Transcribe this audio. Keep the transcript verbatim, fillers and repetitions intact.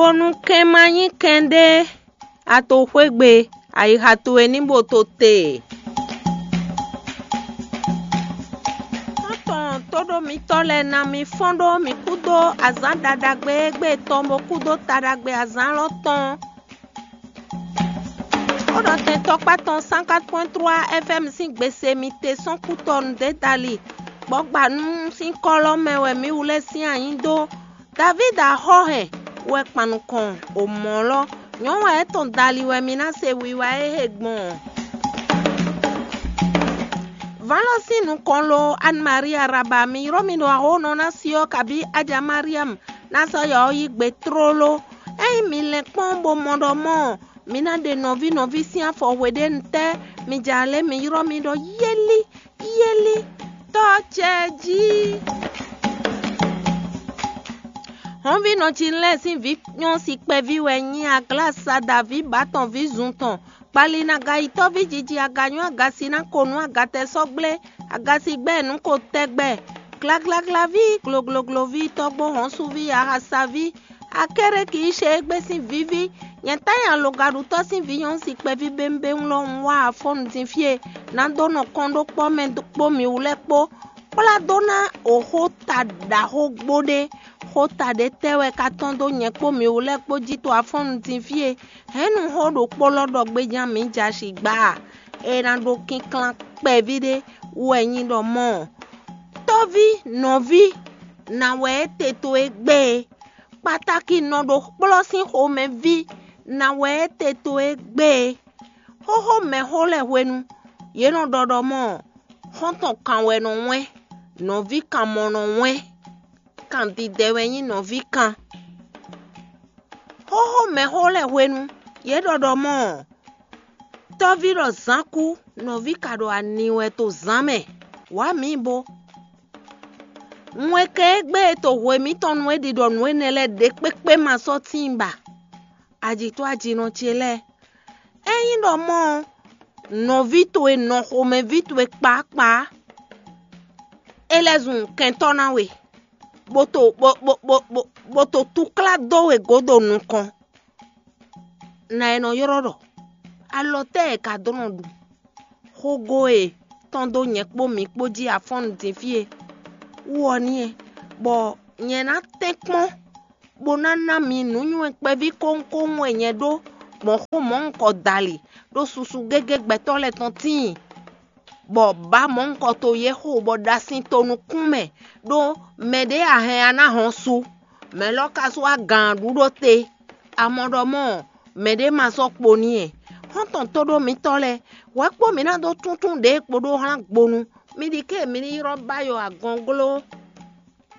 Bónú kɛn ma nyí kɛnɖé, a to xwé gbe, ayixa towe ní bo to te. Xɔ́ntɔn tóɖó mitɔ́ lɛ́ɛ ná mi fɔ́n ɖó mǐ kúdó azǎn ɖaɖagbe e gbe tɔn bó kúdó taɖagbe azǎn lɔ tɔn. Xó ɖɔ tɛn tɔkpá tɔn cent quatre point trois F M sín gbese mi te sɔ́n kú tɔn nǔ dali, bɔ gba nú sín kɔ́lɔ́ mɛ wɛ mǐ wlɛ́ sín anyí dó. Davídi axɔ́ hɛn wɛ kpan nukɔn o mɔ̌ lɔ, nyɔ̌nu wɛ é tɔn dali wɛ mi ná se wiwa e he gbɔn. Vǎn lɔ sín nukɔn lo, Anne Marie Araba, mi ylɔ́ mi ɖo axɔ́nɔ ná si ɔ́, kabí Aja Mariam ná sɔ́ yɔ ɔ́ yí gbe tlóló. Ényí mi lɛn kpɔ́n bó mɔ ɖɔ mɔ̌, mi ná ɖe nɔví nɔví sín afɔ hweɖénu tɛ́, mi ja lě mi ylɔ́ mi ɖɔ yélí, yélí, tɔ́ ce jí. Hɔnvínɔ Jinlɛ́ɛ sín vǐ nyɔ́ si kpɛví wɛ nyí Aglasa Daví bǎ tɔn ví zun tɔn. Kpali nú agayitɔ́ví jiji, aganyɔ́ agasi ná ko nú agatɛsɔ́gblé, agasigbɛ́ nǔ ko tɛgbɛ. Glaglaglá ví, glogloglo ví, tɔ́gbó hɔ́nsúví, ahasaví, Akéreki Íshe égbé sín víví, nyɛ tá nyi alogaɖutɔ́ sín vǐ nyɔ̌nu si kpɛví bémbéŋ lɔ un wá afɔ́nnu din fí e ná dó nɔ kɔn ɖó kpɔ́ mɛ kpó mǐwú lɛ́ɛ kpó, kplá dó ná o xó ta ɖaxó gbó ɖé. Xó ta ɖé tɛ́ wɛ ka tɔ́n dó nyɛ kpó mǐwú lɛ́ɛ kpó jí to afɔ́nnu din fí e hɛ̌nnu xó ɖokpó lɔ ɖɔ gbéján mǐ jɛ asi gbá a? É ná ɖó kínklán kpɛví ɖé wú wɛ nyí ɖɔ mɔ̌. Tɔ́ví nɔví ná wɛ é te towe gbé e, kpatáki nɔ ɖo kplɔ́ sín xomɛví ná wɛ é te towe gbé e. Xóxó mɛxó lɛ́ɛ hwenu, yě nɔ ɖɔ ɖɔ mɔ̌, xɔ́ntɔn kan wɛ nɔ wɛ́n, nɔví kan mɔ nɔ wɛ́n, kan didɛ wɛ nyí nɔví kan. Xóxó mɛxó lɛ́ɛ hwenu, yě ɖɔ ɖɔ mɔ̌, tɔ́ví ɖɔ zǎn kú, nɔví ka ɖo ani wɛ to zǎn mɛ. Wǎ mǐ bo. Wɛn kɛ égbé e to hwe mǐtɔn nu é ɖi ɖɔ nǔ énɛ́ lɛ́ɛ ɖě kpékpé ma sɔ́ tíin ba. Ajǐtɔ́ ajinɔ ce lɛ́ɛ, ényí ɖɔ mɔ̌ ɔ́, nɔví towe nɔ xomɛví towe kpákpá, é lɛ́ zun kɛntɔ́ ná we, bó to bó bó bó bó bó to túklá dó we gǒdo nukɔn. Nǎ e nɔ ylɔ́ ɖɔ alɔ tɛ́ e ka dó nɔ ɖu xógó e tɔ́n dó nyɛ kpó mi kpó jí afɔ́nnu din fí e wú ɔ́ n'i, bɔ nyɛ ná tɛ́nkpɔ́n bó ná ná mi nǔnywɛ́ kpɛví kónkóŋ e nyɛ ɖó gbɔn xó mɔ̌hunkɔ dali ɖó susu gégé gbɛtɔ́ lɛ́ɛ tɔn tíin, bɔ bǎ mɔ̌hunkɔ to yě xo bɔ ɖa sin to nukún mɛ, ɖó mɛɖé a hɛn a ná hɔn su, mɛ̌ lɔ ka sú wá gǎn ɖu ɖó te. A mɔ ɖɔ mɔ̌, mɛɖé ma sɔ́ kpo n'i ɛ. Xɔ́ntɔn tóɖó mitɔ́ lɛ́ɛ, hwɛ kpó mǐ ná dó túntún ɖě kpo ɖó hlán gbonu. Mi ɖi ké mi ní ylɔ́ Bayɔ agɔngló.